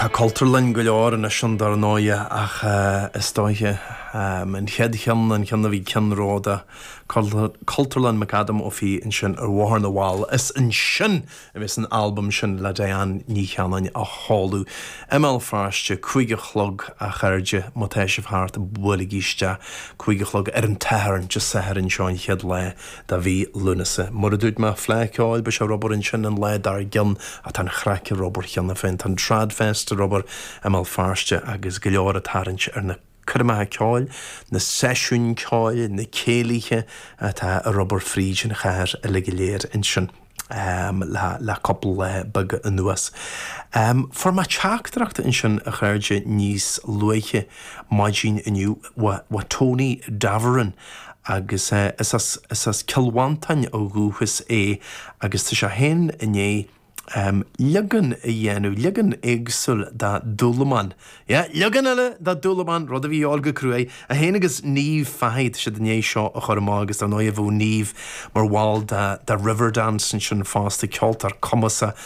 Tá Cultúrlann go leor anois ann dar ndóighe ach is dóiche an chéad cheann, an ceann a bhí ceannródaíoch, Cultúrlann McAdam Ó Fiaich ansin ar Bhóthar na bhFál, is ansin a bheas an albam sin le Diane Ní Chanainn á sheoladh i mBéal Feirste, 5 a chlog a chairde, má tá sibh thart buailigí isteach, 5 a chlog ar an tSatharn, Dé Sathairn seo an chéad lá de mhí Lúnasa. Mar a dúirt mé, Fleadh Cheoil, beidh sé ar obair ansin an lá dár gcionn ach tá an chraic ar obair cheana féin, tá an Tradfest ar obair i mBéal Feirste agus go leor ag tarraingt ar na coirmeacha ceoil, na seisiúin ceoil, na céilithe atá ar obair fríd an chathair uilig go léir ansin le cúpla lá beag anuas. Fuair mé teachtaireacht ansin a chairde níos luaithe maidin inniu ó Tony Davoren agus is as Cill Mhantáin ó dhúchas é agus tá sé féin i ndiaidh leagan a dhéanamh, leagan éagsúil de Dúlamán. Yeah, leagan eile de Dúlamán, rud a bhí a dhíobháil go cruaidh. É féin agus Niamh Fahey, tá siad i ndiaidh seo a chur amach agus dar ndóigh bheadh Niamh mar bhall de de Riverdance ansin fosta, ceoltóir cumasach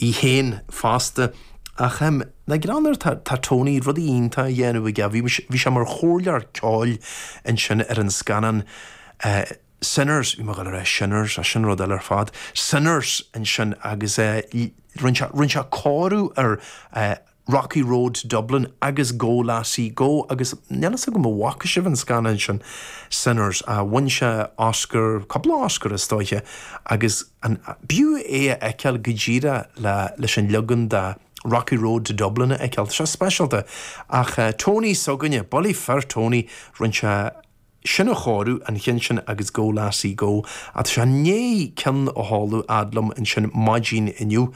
í féin fosta. Ach le greann air tá tá Tony rudaí iontacha á dhéanamh aige. Bhí bhí sé mar chomhairleoir ceoil ansin ar an scannán Sinners, bhí mé ag dul a rá Shinners, ach sin rud eile ar fad. Sinners ansin agus rinne sé, rinne sé cóiriú ar Rocky Road to Dublin agus Go Lassie Go agus níl fhios agam an bhfaca sibh an scannán sin, Sinners, bhain sé Oscar, cúpla Oscar is dóiche agus an, b'fhiú é a fheiceáil go díreach le, leis an leagan de Rocky Road to Dublin a fheiceáil, tá sé speisialta. Ach Tony s'againne, bullaí fir Tony, rinne sé sin a chóiriú, an cheann sin agus Go Lassie Go. Ach tá sé i ndiaidh ceann a sheoladh fhad liom ansin maidin inniu,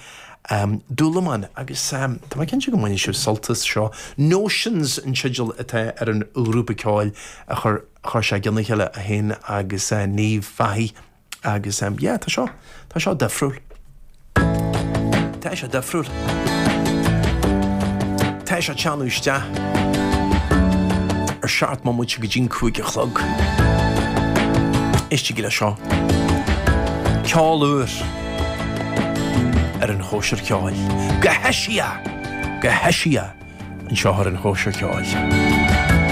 Dúlamán, agus tá mé cinnte go mbainfidh sibh sult as seo. Notions an teideal atá ar an ghrúpa ceoil a chuir sé i gcionn a chéile, é féin agus Niamh Fahey. Agus yeah, tá seo, tá seo difriúil. Tá sé difriúil. Tá sé ag teannadh isteach ar 7 mbomaite go dtí'n 5 a chlog. Éistigí le seo. Ceol úr ar an chóisir cheoil. Go heisiach! Go heisiach anseo ar an chóisir cheoil.